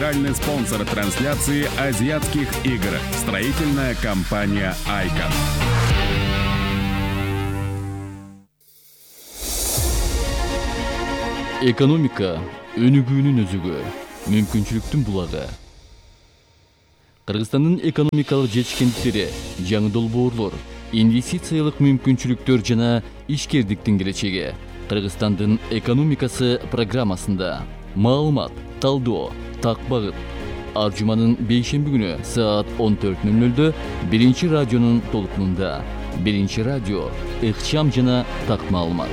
Официальный спонсор трансляции азиатских игр. Строительная компания «Айкон». Экономика өнүгүүнүн өзөгү, мүмкүнчүлүктүн булагы. Кыргызстандын экономикалык жетишкендиктери, жаңы долбоорлор, инвестициялык мүмкүнчүлүктөр жана ишкердиктин келечеги. Кыргызстандын экономикасы программасында маалымат, талдоо, так багыт. Ар жуманын бейшемби күнү саат 14:00 биринчи радионун толкунунда. Биринчи радио, ыкчам жана так маалымат.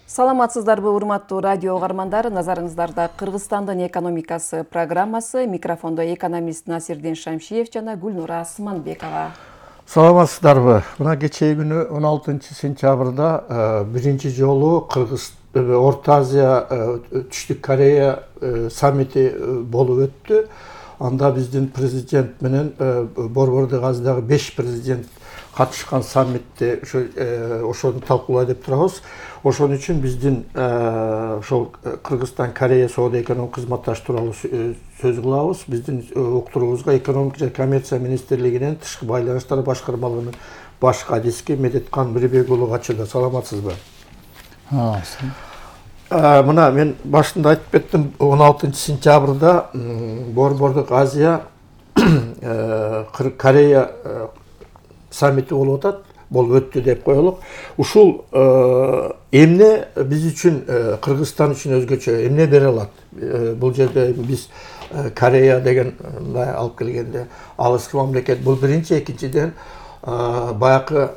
Саламатсыздарбы, урматтуу радио угармандар. Назарыңыздарда Кыргызстандын экономикасы программасы. Микрофондо экономист Насирдин Шамшиев жана Гүлнура Асманбекова. Саламатсыздарбы. Мына кечээ күнү 16 сентябрда биринчи жолу Орто Азия, Түштүк Корея саммити болуп өттү. Анда биздин президент менен Борбордук Азиядагы 5 президент катышкан саммитте ошону талкуулай деп турабыз. Ошон үчүн биздин ошол Кыргызстан Корея соода экономик кызматташ тууралуу сөз кылабыз. Биздин уктуруубузга экономика жана коммерция министрлигинен тышкы байланыштар башкармалыгынын баш кадиски Медеткан Мирбек уулу катышты. Саламатсызбы? Мына мен башында айтып кеттим, 16 сентябрда Борбордук Азия Корея саммити болуп атат, болуп өттү деп коелук. Ушул эмне биз үчүн, Кыргызстан үчүн өзгөчө эмне бере алат? Бул жерде биз Корея деген алып келгенде алыскы мамлекет. Бул биринчи, экинчиден баягы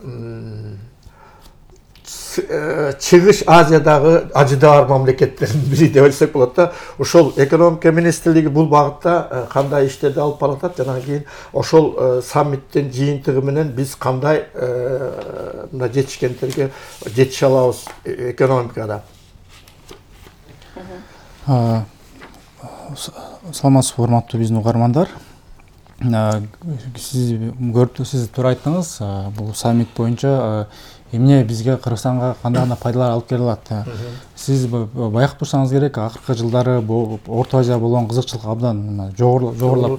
Чыгыш Азиядагы ажыдаар мамлекеттердин бири деп айтсак болот да. Ошол экономика министрлиги бул багытта кандай иштерди алып баратат, жана кийин ошол саммиттин жыйынтыгы менен биз кандай мына жетишкендерге жетише алабыз экономикада. Саламатсызбы, урматтуу биздин угармандар. Сиз туура айттыңыз, бул саммит боюнча эмне бизге, Кыргызстанга кандай гана пайдалар алып келе алат. Сиз байкап турсаңыз керек, акыркы жылдары Орто Азия болгон кызыкчылык абдан жогорулап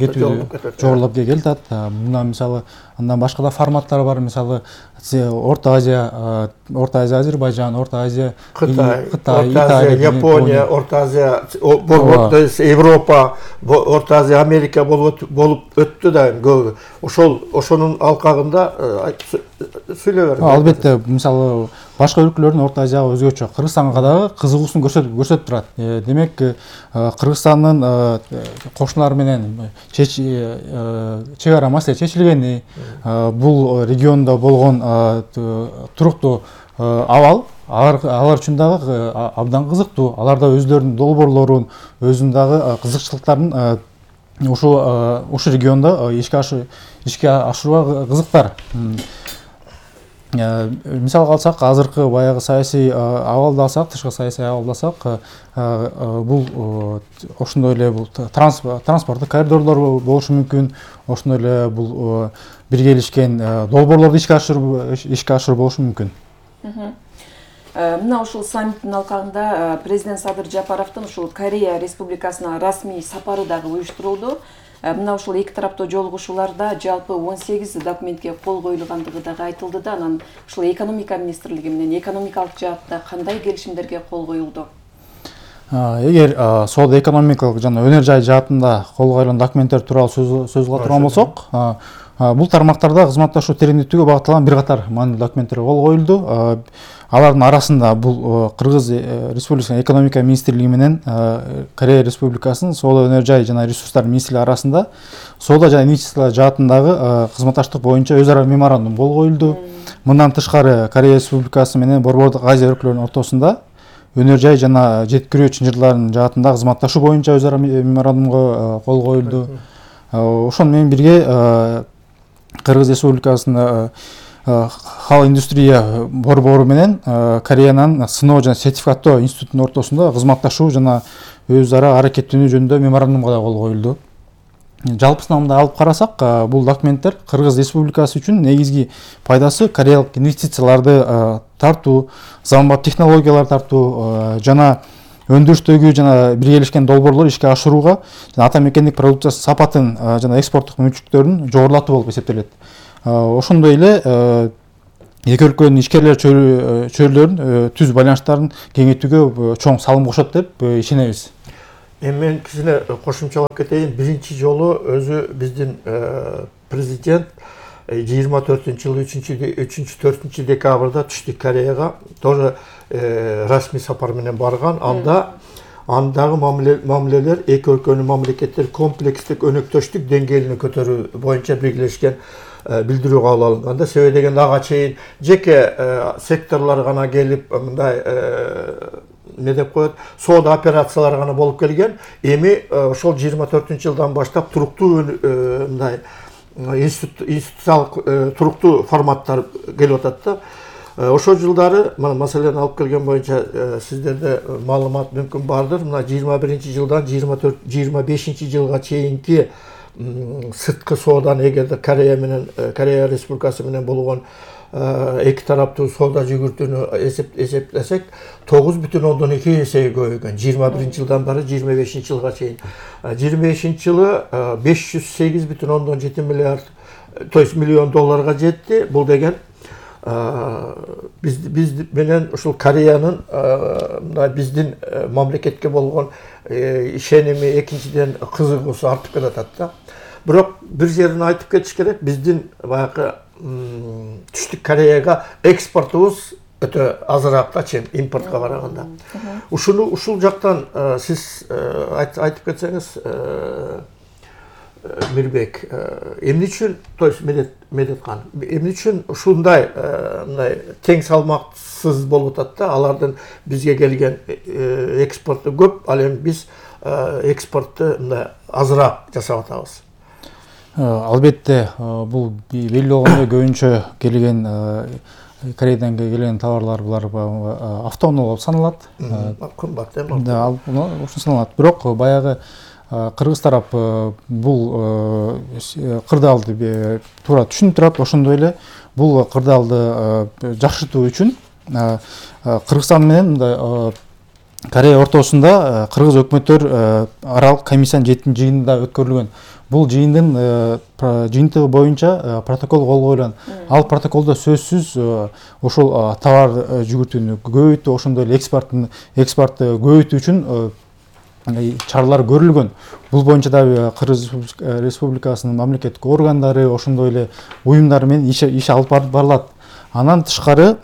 келатат. Мына мисалы андан башка да форматтар бар. Мисалы Орто Азия, Азербайжан, Орто Азия, Кытай, Япония, Орто Азия, Европа, Орто Азия, Америка болуп өттү да көбү. Ошонун алкагында сүйлөй бериңиз. Албетте, мисалы башка өлкөлөрдүн Орто Азияга өзгөчө, Кыргызстанга дагы кызыгуусун көрсөтүп турат. Демек, Кыргызстандын кошуналары менен чек ара маселе чечилгени, бул региондо болгон туруктуу абал алар үчүн дагы абдан кызыктуу. Алар да өзлөрүнүн долбоорлорун, өзүнүн дагы кызыкчылыктарын ушу региондо ишке ашырууга кызыктар. Мисалга алсак, азыркы баягы саясий абалды алсак, тышкы саясий абалды алсак, бул ошондой эле бул транспорттук коридорлор болушу мүмкүн, ошондой эле бул биргелешкен долбоорлорду ишке ашыруу болушу мүмкүн. Мына ушул саммиттин алкагында президент Садыр Жапаровдун ушул Корея Республикасына расмий сапары дагы уюштурулду. Мына ушул эки тараптуу жолугушууларда жалпы 18 документке кол коюлгандыгы дагы айтылды да, анан ушул экономика министрлиги менен экономикалык жаатта кандай келишимдерге кол коюлду? Эгер соода экономикалык жана өнөр жай жаатында кол коюлган документтер тууралуу сөз кыла турган болсок, бул тармактарда кызматташуу тереңдетүүгө багытталган бир катар маанилүү документтер кол коюлду. Алардын арасында бул Кыргыз Республикасынын экономика министрлиги менен Корея Республикасынын соода өнөр жай жана ресурстар министрлиги арасында соода жана инвестициялар жаатындагы кызматташтык боюнча өз ара меморандум кол коюлду. Мындан тышкары Корея Республикасы менен Борбордук Азия өлкөлөрүнүн ортосунда өнөр жай жана жеткирүү чынжырларын жаатында кызматташуу боюнча өз ара меморандумга кол коюлду. Ошону менен бирге Кыргыз Республикасынын Хал индустрия борбору менен Кореянын сыноо жана сертификаттоо институтунун ортосунда кызматташуу жана өз ара аракеттенүү жөнүндө меморандумга да кол коюлду. Жалпысынан мындай алып карасак, бул документтер Кыргыз Республикасы үчүн негизги пайдасы кореялык инвестицияларды тартуу, заманбап технологиялар тартуу жана өндүрүштөгү жана биргелешкен долбоорлор ишке ашырууга жана ата мекендик продукция сапатын жана экспорттук мүмкүнчүлүктөрүн жогорулатуу болуп эсептелет. Ошондой эле эки өлкөнүн ишкерлер чөйрөлөрүн түз байланыштарын кеңейтүүгө чоң салым кошот деп ишенебиз. Мен кичине кошумчалап кетейин. Биринчи жолу өзү биздин президент 24-жылы 3-4 декабрда Түштүк Кореяга тоже расмий сапар менен барган. Андагы мамилелер эки өлкөнүн мамлекеттери комплекстик өнөктөштүк деңгээлине көтөрүү боюнча биргелешкен билдирүү кабыл алынганда, себеби дегенде ага чейин жеке секторлор гана келип мындай не деп коет, соода операциялары гана болуп келген. Эми ошол 24-жылдан баштап туруктуу мындай институциялык туруктуу форматтар келип атат да. Ошол жылдары маселени алып келген боюнча сиздерде маалымат мүмкүн бардыр. Мына 21-жылдан 25-жылга чейинки сырткы сооданы эгерде Корея Республикасы менен болгон эки тараптуу соода жүгүртүүнү эсептесек 9,2 эсеге көбөйгөн. 21-жылдан бери 25-жылга чейин. 25-жылы 508,7 миллиард, то есть миллион долларга жетти. Бул деген биз менен ушул Кореянын биздин мамлекетке болгон ишеними, экинчиден кызыгуусу артып келатат да. Бирок бир жерин айтып кетиш керек, биздин баягы Түштүк Кореяга экспортубуз өтө азыраак да чем импортко караганда. Ушул жактан сиз айтып кетсеңиз, Мирбек, эмне үчүн, то есть Медеткан, эмне үчүн ушундай мындай тең салмаксыз болуп атат да? Алардын бизге келген экспорту көп, ал эми биз экспортту мындай азыраак жасап атабыз. Албетте, бул белгилүү болгондой көбүнчө келген Кореядан келген товарлар булар автономдуу болуп саналат. Кымбат Да, ошо саналат. Бирок баягы кыргыз тарап бул кырдаалды туура түшүнүп турат. Ошондой эле бул кырдаалды жакшыртуу үчүн Кыргызстан менен мындай Корея ортосунда кыргыз өкмөттөр аралык комиссиянын 7-жыйынында өткөрүлгөн. Бул жыйындын жыйынтыгы боюнча протокол кол коюлган. Ал протоколдо сөзсүз ошол товар жүгүртүүнү көбөйтүү, ошондой эле экспортту көбөйтүү үчүн чаралар көрүлгөн. Бул боюнча дагы Кыргыз Республикасынын мамлекеттик органдары, ошондой эле уюмдар менен иш алып барылат. Андан тышкары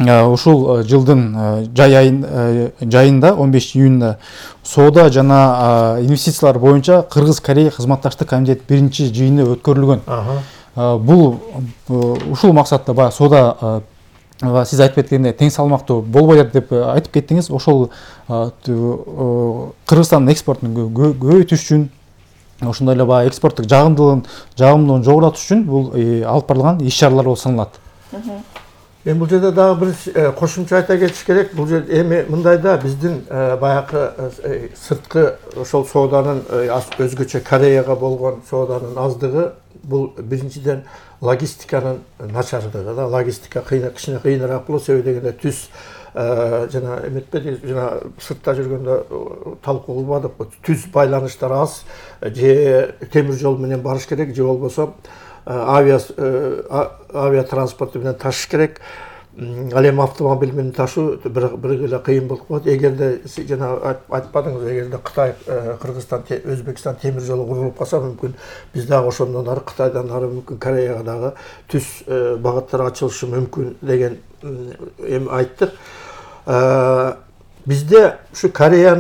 ушул жылдын жайында 15 июнда соода жана инвестициялар боюнча Кыргыз-Корея кызматташтык комитет биринчи жыйыны өткөрүлгөн. Бул ушул максатта баягы соода сиз айтып кеткендей тең салмактуу болбойт деп айтып кеттиңиз. Ошол Кыргызстандын экспортун көбөйтүш үчүн, ошондой эле баягы экспорттук жагымдуулугун жогорулатыш үчүн бул алып барылган иш-чаралар болуп саналат. Эми бул жерде дагы бир кошумча айта кетиш керек. Бул жер эми мындайда биздин баягы сырткы ошол сооданын өзгөчө Кореяга болгон сооданын аздыгы бул биринчиден логистиканын начардыгы да. Логистика кичине кыйыныраак болот, себеби дегенде түз жана эметпеди, жана сыртта жүргөндө талкуу кылбадык. Түз байланыштар аз, же темир жол менен барыш керек, же болбосо авиа транспорту менен ташыш керек. Ал эми автомобиль менен ташуу бир эле кыйын болуп калат. Эгерде жана айтпадыңыз, эгерде Кытай, Кыргызстан, Өзбекстан темир жолу курулуп калса, мүмкүн биз дагы ошондон ары Кытайдан ары мүмкүн Кореяга дагы түз багыттар ачылышы мүмкүн деген эми айттык. Bizde şu Koreya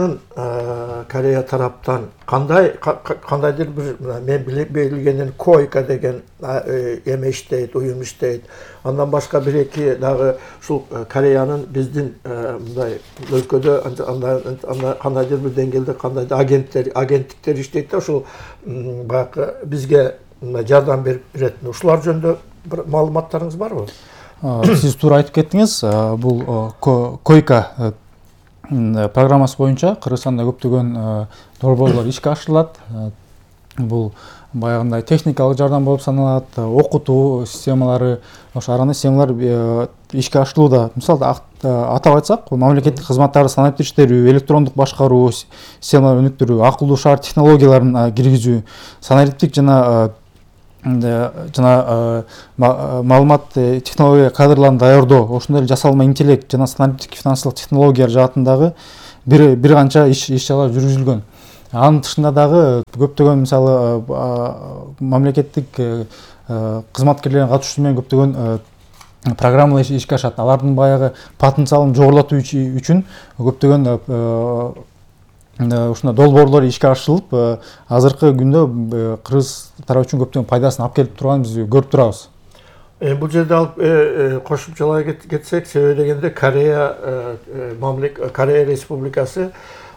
taraптан кандайдыр бир мен билгенден койка деген эме иштейт, уюм иштейт. Андан башка бир эки дагы ушул Кореянын биздин мындай өлкөдө кандайдыр бир деңгээлде кандайдыр агенттиктер иштейт да, ушул баягы бизге жардам берет. Ушулар жөнүндө бир маалыматтарыңыз барбы? Сиз туура айтып кеттиңиз. Бул койка программасы боюнча Кыргызстанда көптөгөн долбоорлор ишке ашырылат. бул баягындай техникалык жардам болуп саналат, окутуу системалары, ошо ар кандай системалар ишке ашырылууда. Мисалы атап айтсак, бул мамлекеттик кызматтарды санариптештирүү, электрондук башкаруу системаларын өнүктүрүү, акылдуу шаар технологияларын киргизүү, санариптик жана маалымат технология кадрларын даярдоо, ошондой эле жасалма интеллект жана санариптик финансылык технологиялар жаатындагы бир канча иш чаралар жүргүзүлгөн. Анын тышында дагы көптөгөн мисалы мамлекеттик кызматкерлердин катышуусу менен көптөгөн программалар ишке ашат. Алардын баягы потенциалын жогорулатуу үчүн көптөгөн ушундай долбоорлор ишке ашырылып, азыркы күндө кыргыз тарап үчүн көптөгөн пайдасын алып келип турганын биз көрүп турабыз. Бул жерде алып кошумчалай кетсек, себеби дегенде Корея Республикасы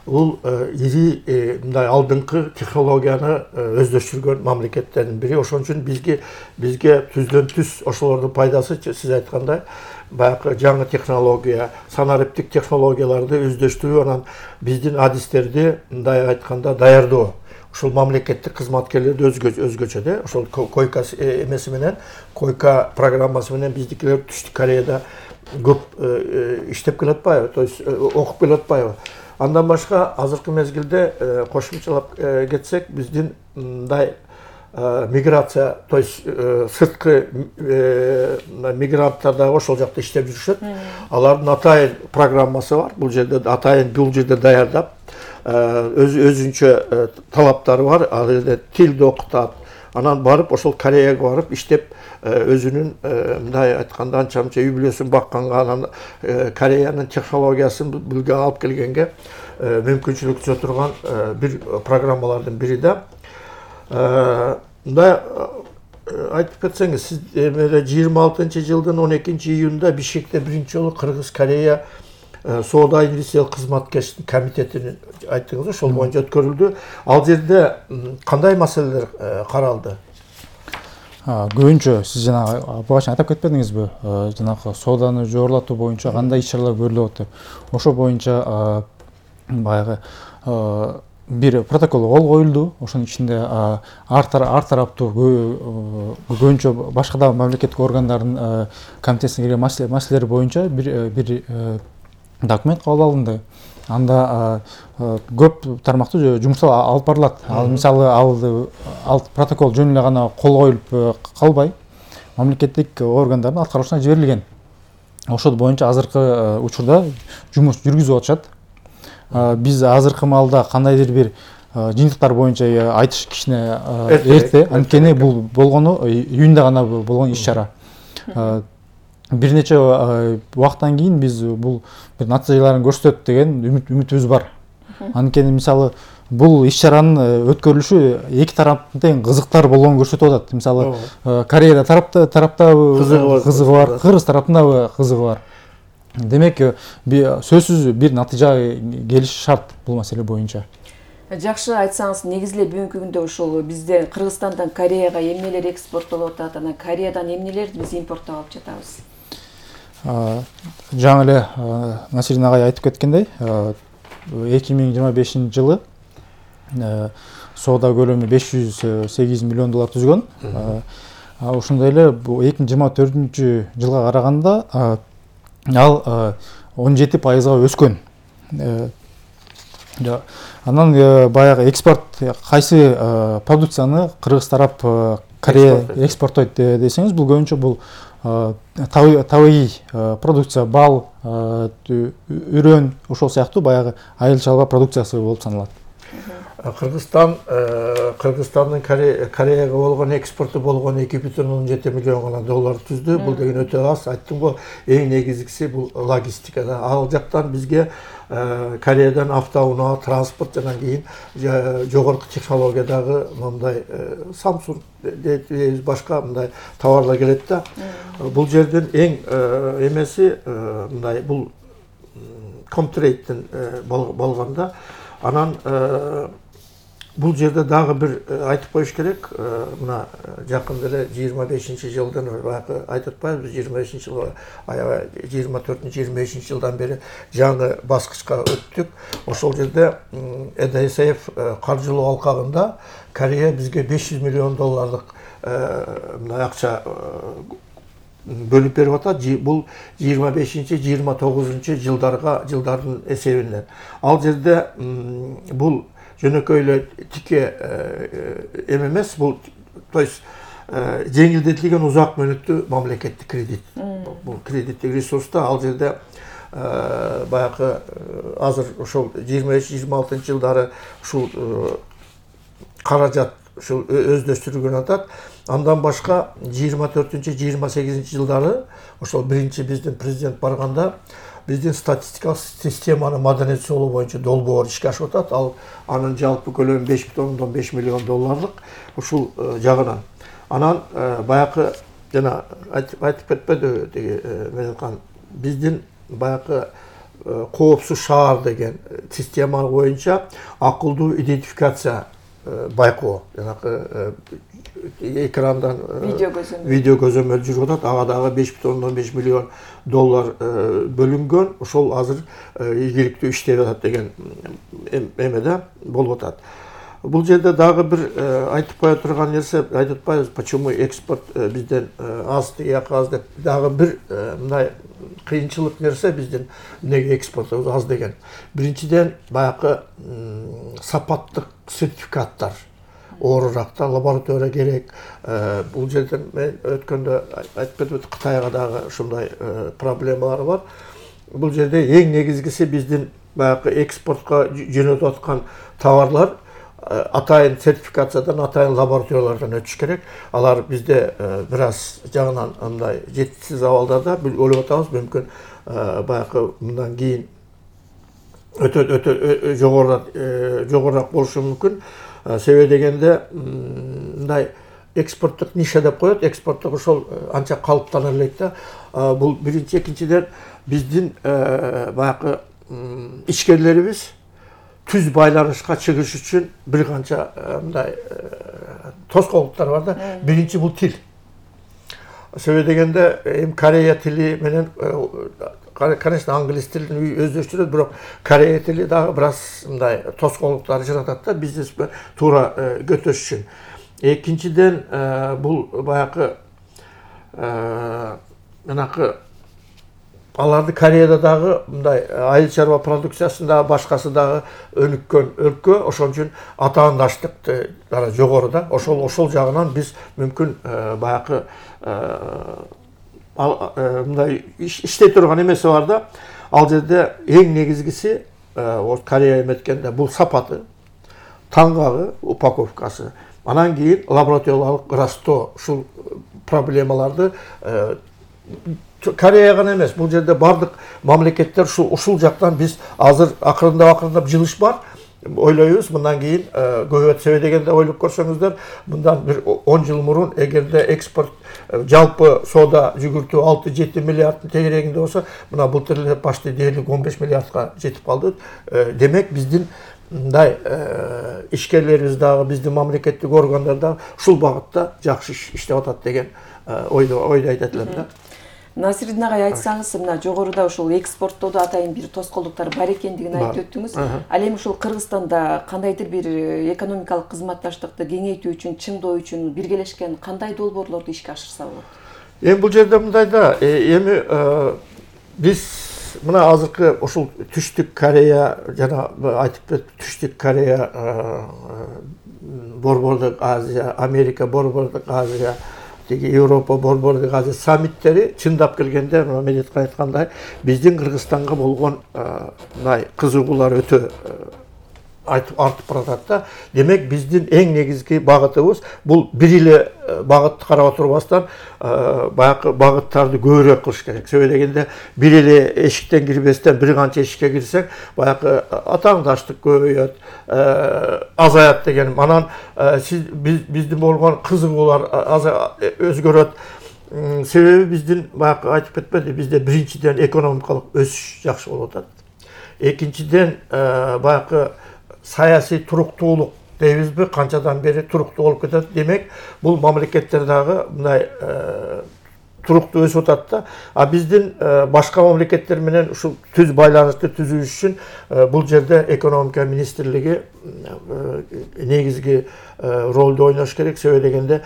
бул ири мындай алдыңкы технологияны өздөштүргөн мамлекеттердин бири. Ошон үчүн бизге түздөн түз ошолордун пайдасы, сиз айткандай, баягы жаңы технология, санариптик технологияларды өздөштүрүү, анан биздин адистерди мындай айтканда даярдоо. Ошол мамлекеттик кызматкерлерди өзгөчө да, ошол койка эмеси менен, койка программасы менен биздикилер Түштүк Кореяда көп иштеп келатпайбы, то есть окуп келатпайбы. Андан башка азыркы мезгилде кошумчалап кетсек, биздин мындай миграция, то есть сырткы мигранттар да ошол жакта иштеп жүрүшөт. Алардын атайын программасы бар. Бул жерде даярдап, өзүнчө талаптары бар. Ал жерде тилди окутат. Анан барып ошол Кореяга барып иштеп, өзүнүн мындай айтканда анча-мынча үй бүлөсүн бакканга, анан Кореянын технологиясын билге алып келгенге мүмкүнчүлүк түзө турган бир программалардын бири да. Мындай айтып кетсеңиз, сиз 26-жылдын 12-июнунда Бишкекте биринчи жолу Кыргыз-Корея соода инвестициялык кызматкерлик комитетинин айттыңыз, ошол боюнча өткөрүлдү. Ал жерде кандай маселелер каралды? Көбүнчө сиз жана башында айтып кетпедиңизби, жанагы сооданы жогорулатуу боюнча кандай иш чаралар көрүлүп атат? Ошо боюнча баягы бир протокол кол коюлду. Ошонун ичинде ар тараптуу көбүнчө башка да мамлекеттик органдардын комитетине кирген маселелер боюнча бир документ кабыл алынды. Анда көп тармактуу жумуштар алып барылат. Мисалы ал протокол жөн эле гана кол коюлуп калбай, мамлекеттик органдардын аткаруусуна жиберилген. Ошол боюнча азыркы учурда жумуш жүргүзүп атышат. Биз азыркы маалда кандайдыр бир жыйынтыктар боюнча айтыш кичине эрте, анткени бул болгону июнда гана болгон иш чара. Бир нече убакыттан кийин биз бул бир натыйжаларын көрсөтөт деген үмүтүбүз бар. Анткени мисалы бул иш чаранын өткөрүлүшү эки тараптын тең кызыктар болгонун көрсөтүп атат. Мисалы Корея тарапта кызыгы бар, Кыргыз тарапында кызыгы бар. Демек, сөзсүз бир натыйжага келиш шарт бул маселе боюнча. Жакшы, айтсаңыз, негизиле бүгүнкү күндө ошол бизде Кыргызстандан Кореяга эмнелер экспорттолуп атат, анан Кореядан эмнелерди биз импорттоп алып жатабыз? Жаңы эле Насирин агай айтып кеткендей, 2025 жылы соода көлөмү $508 миллион түзгөн. Ошондой эле 2024 жылга караганда ал 17%га өскөн. Анан баягы экспорт кайсы продукцияны Кыргыз тарап Корея экспорттойт десеңиз, бул көбүнчө бул табигый продукция, бал, үрөн, ошол сыяктуу баягы айыл чарба продукциясы болуп саналат. Кыргызстандын Кореяга болгон экспорту болгон $2,17 миллион гана доллар түздү. Бул деген өтө аз. Айттым го, эң негизгиси бул логистика. Ал жактан бизге Кореядан автоунаа, транспорт жана кийин жогорку технологиядагы мындай Samsung башка мындай товарлар келет да. Бул жерден эң эмеси мындай бул Comtrade болгондо анан Бул жерде дагы бир айтып коюш керек. Мына жакында эле 25-жылдан баягы айтып атпайбызбы, 25-жылга аябай 24-25 жылдан бери жаңы баскычка өттүк. Ошол жерде ЭДСФ каржылоо алкагында Корея бизге $500 миллион мына акча бөлүп берип атат. Бул 25-29 жылдардын эсебинен. Ал жерде бул жөнөкөй эле тике эмес, бул то есть жеңилдетилген узак мөөнөттүү мамлекеттик кредит. Бул кредиттик ресурста ал жерде баягы азыр ошол 25-26 жылдары ушул каражат ушул өздөштүрүлгөн атат. Андан башка 24-28 жылдары ошол биринчи биздин президент барганда биздин статистикалык системаны модернизациялоо боюнча долбоор ишке ашып атат. Ал анын жалпы көлөмү $5,5 миллион ушул жагынан. Анан баягы жана айтып кетпеди деги Меделкан, биздин баягы коопсуз шаар деген система боюнча акылдуу идентификация байкоо, жанагы экрандан видео көзөмөл жүрүп атат. Ага дагы $5,5 миллион бөлүнгөн. Ошол азыр ийгиликтүү иштеп атат деген эмеде болуп атат. Бул жерде дагы бир айтып кое турган нерсе, айтып атпайбыз, почему экспорт бизден аз, тияк аз деп. Дагы бир мындай кыйынчылык нерсе биздин эмнеге экспортубуз аз деген. Биринчиден баягы сапаттык сертификаттар ооруракта лаборатория керек. Бул жерде мен өткөндө айтып кетип, Кытайга дагы ушундай проблемалар бар. Бул жерде эң негизгиси биздин баягы экспортко жөнөтүп аткан товарлар атайын сертификациядан, атайын лабораториялардан өтүш керек. Алар бизде бир аз жагынан андай жетишсиз абалдарда, ойлоп атабыз, мүмкүн баягы мындан кийин өтө жогорурак болушу мүмкүн. Себеби дегенде мындай экспорттук ниша деп коет, экспорттук ошол анча калыптана элек да. Бул биринчи, экинчиден биздин баягы ишкерлерибиз түз байланышка чыгыш үчүн бир канча мындай тоскоолдуктар бар да. Биринчи бул тил. Себеби дегенде эми Корея тили менен, конечно, англис тилин өздөштүрөт, бирок Корея тили дагы бир аз мындай тоскоолдуктар жаратат да, бизнесмен туура көтөш үчүн. Экинчиден бул баягы жанагы аларды Кореяда дагы мындай айыл чарба продукциясында башкасы дагы өнүккөн өлкө, ошон үчүн атаандаштык жогору да. Ошол жагынан биз мүмкүн баягы мындай иштей турган эмеси бар да. Ал жерде эң негизгиси Корея эметкенде бул сапаты, таңгагы, упаковкасы. Анан кийин лабораториялык ырастоо, ушул проблемаларды Корея гана эмес, бул жерде бардык мамлекеттер ушул жактан биз азыр акырындап жылыш бар. Ойлойбуз, мындан кийин көбөйөт. Себеби дегенде ойлоп көрсөңүздөр, мындан бир 10 жыл мурун эгерде экспорт жалпы соода жүгүртүү 6-7 миллиарддын тегерегинде болсо, мына былтыр эле почти дээрлик 15 миллиардка жетип калды. Демек биздин мындай ишкерлерибиз дагы, биздин мамлекеттик органдар дагы ушул багытта жакшы иштеп атат деген ойду айтат элем да. Насирдин агай, айтсаңыз, мына жогоруда ушул экспорттоодо атайын бир тоскоолдуктар бар экендигин айтып өттүңүз. Ал эми ушул Кыргызстанда кандайдыр бир экономикалык кызматташтыкты кеңейтүү үчүн, чыңдоо үчүн биргелешкен кандай долбоорлорду ишке ашырса болот? Эми бул жерде мындай да, эми биз мына азыркы ушул Түштүк Корея, жана айтып кетип, Түштүк Корея, Борбордук Азия, Америка, Борбордук Азия, Европа, Борбордук Азия саммиттери чындап келгенде, Медетка айткандай, биздин Кыргызстанга болгон мындай кызыгуулар өтө артып баратат да. Демек биздин эң негизги багытыбыз бул бир эле багытты карап отурбастан баягы багыттарды көбүрөөк кылыш керек. Себеби дегенде бир эле эшиктен кирбестен бир канча эшикке кирсек, баягы атаандаштык көбөйөт, азаят дегеним. Анан биздин болгон кызыгуулар өзгөрөт. Себеби биздин баягы айтып кетпеди, бизде биринчиден экономикалык өсүш жакшы болуп атат. Экинчиден баягы саясий туруктуулук дейбизби, канчадан бери туруктуу болуп кетет. Демек, бул мамлекеттер дагы мындай туруктуу өсүп атат да. А биздин башка мамлекеттер менен ушул түз байланышты түзүү үчүн бул жерде экономика министрлиги негизги ролду ойнош керек. Себеби дегенде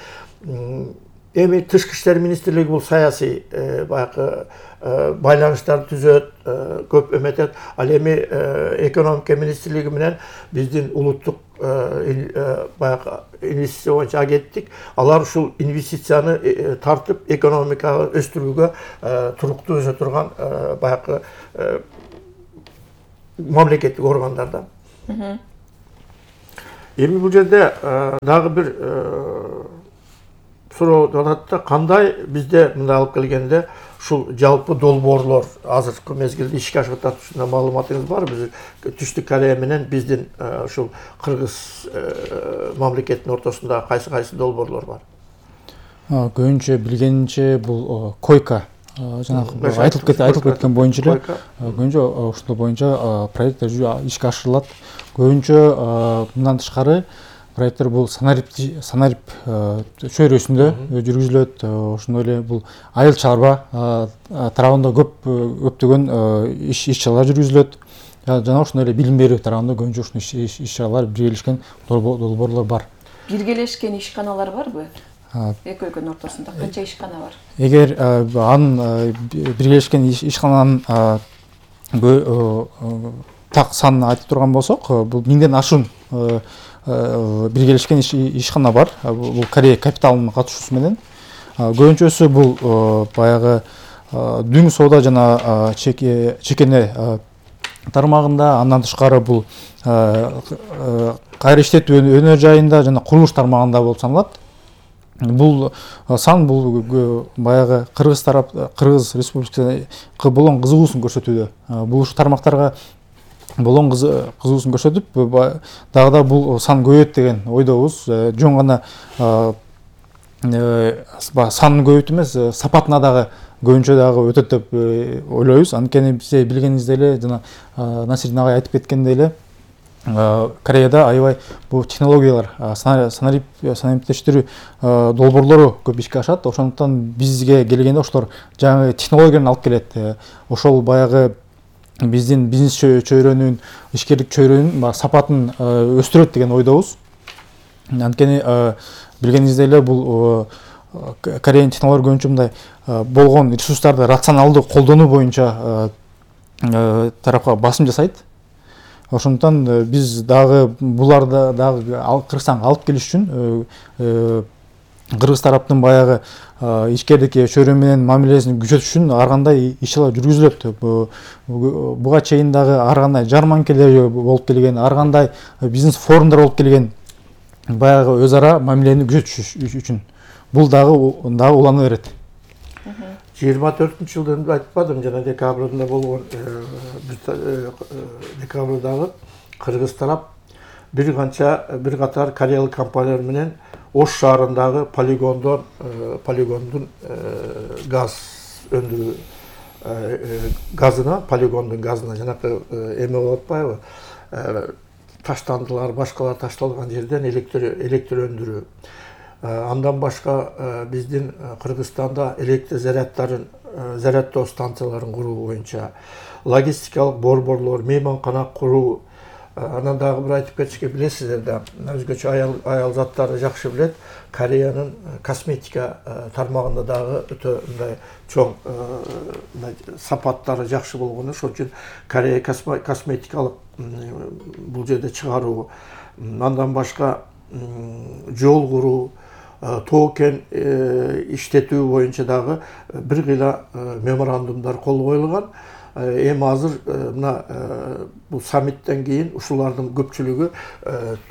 эми тышкы иштер министрлиги бул саясий баягы байланыштарды түзөт, көп эметет. Ал эми экономика министрлиги менен биздин улуттук баягы инвестиция боюнча агенттик, алар ушул инвестицияны тартып, экономиканы өстүрүүгө туруктуу өсө турган баягы мамлекеттик органдар да. Эми бул жерде дагы бир суроо болот да, кандай бизде мындай алып келгенде ушул жалпы долбоорлор азыркы мезгилде ишке ашып атат, ушундай маалыматыңыз барбы? Биз Түштүк Корея менен биздин ушул Кыргыз мамлекетинин ортосунда кайсы долбоорлор бар? Көбүнчө билгенимче бул койка, жанагы айтылып кеткен боюнча эле көбүнчө ушул боюнча проекттер ишке ашырылат. Көбүнчө мындан тышкары проекттер бул санарип чөйрөсүндө жүргүзүлөт. Ошондой эле бул айыл чарба тарабында көптөгөн иш-чаралар жүргүзүлөт. Жана ошондой эле билим берүү тарабында көбүнчө ушундай иш-чаралар биргелешкен долбоорлор бар. Биргелешкен ишканалар барбы? Эки өлкөнүн ортосунда канча ишкана бар? Эгер анын биргелешкен ишкананын так санын айтып турган болсок, бул 1000ден ашуун биргелешкен ишкана бар. Бул Корея капиталынын катышуусу менен. Көбүнчөсү бул баягы дүң соода жана чекене тармагында, андан тышкары бул кайра иштетүү өнөр жайында жана курулуш тармагында болуп саналат. Бул сан бул баягы Кыргыз Республикасына болгон кызыгуусун көрсөтүүдө. Бул ушу тармактарга болгон кызыгуусун көрсөтүп, дагы да бул сан көбөйөт деген ойдобуз. Жөн гана санын көбөйүп эмес, сапатына дагы көбүнчө дагы өтөт деп ойлойбуз. Анткени бизде билгениңиздей эле, жана Насирдин агай айтып кеткендей эле, Кореяда аябай бул технологиялар, санариптештирүү долбоорлору көп ишке ашат. Ошондуктан бизге келгенде ошолор жаңы технологияны алып келет. Ошол баягы биздин бизнес чөйрөнүн, ишкерлик чөйрөнүн сапатын өстүрөт деген ойдобуз. Анткени билгениңиздей эле бул Кореянын технологиялары көбүнчө мындай болгон ресурстарды рационалдуу колдонуу боюнча тарапка басым жасайт. Ошондуктан биз дагы буларды дагы Кыргызстанга алып келиш үчүн Кыргыз тараптын баягы ишкерлик чөйрө менен мамилесин күчөтүш үчүн ар кандай иш-чаралар жүргүзүлөт. Буга чейин дагы ар кандай жарманкелер болуп келген, ар кандай бизнес форумдар болуп келген, баягы өз ара мамилени күчөтүш үчүн. Бул дагы улана берет. 24-жылдын айтпадым, жана декабрында болгон декабрдагы Кыргыз тарап бир катар кореялык компаниялар менен Ош шаарындагы полигондун газ өндүрүү полигондун газына жанакы эме болуп атпайбы? Таштандылар, башкалар ташталган жерден электр өндүрүү. Андан башка биздин Кыргызстанда электр зарядтоо станцияларын куруу боюнча логистикалык борборлор, мейманкана куруу. Анан дагы бир айтып кетишке, билесиздер да, өзгөчө аял заттары жакшы билет. Кореянын косметика тармагында дагы өтө мындай чоң сапаттары жакшы болгону, ошол үчүн Корея косметикалык бул жерде чыгаруу. Андан башка жол куруу, токен иштетүү боюнча дагы бир кыйла меморандумдар кол коюлган. Эми азыр мына бул саммиттен кийин ушулардын көпчүлүгү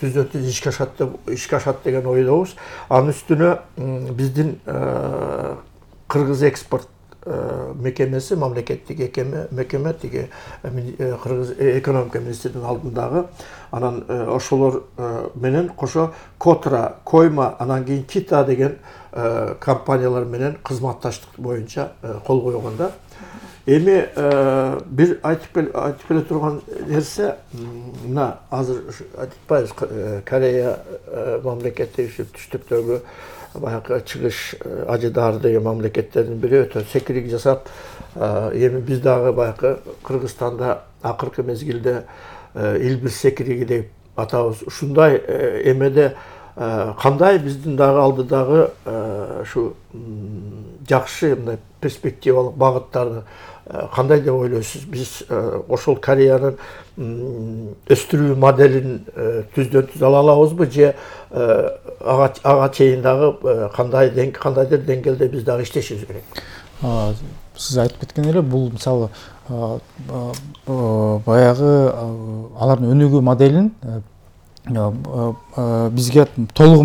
түздөн-түз ишке ашат деген ойдобуз. Анын үстүнө биздин Кыргыз экспорт мекемеси, мамлекеттик мекеме тиги Кыргыз экономика министринин алдындагы, анан ошолор менен кошо Котра, Койма, анан кийин Кита деген компаниялар менен кызматташтык боюнча кол койгонда. Эми бир айтып келе турган нерсе, мына азыр айтпайбыз, Корея мамлекети түштүктөгү баягы чыгыш ажыдаар деген мамлекеттердин бири өтө секирик жасап, эми биз дагы баягы Кыргызстанда акыркы мезгилде Илбиз секириги деп атабыз. Ушундай эмеде кандай биздин дагы алдыдагы ушу жакшы мындай перспективалык багыттарды кандай деп ойлойсуз? Биз ошол Кореянын өстүрүү моделин түздөн түз ала алабызбы, же ага чейин дагы кандайдыр деңгээлде биз дагы иштешибиз керек? Сиз айтып кеткен эле, бул мисалы баягы алардын өнүгүү моделин бизге толугу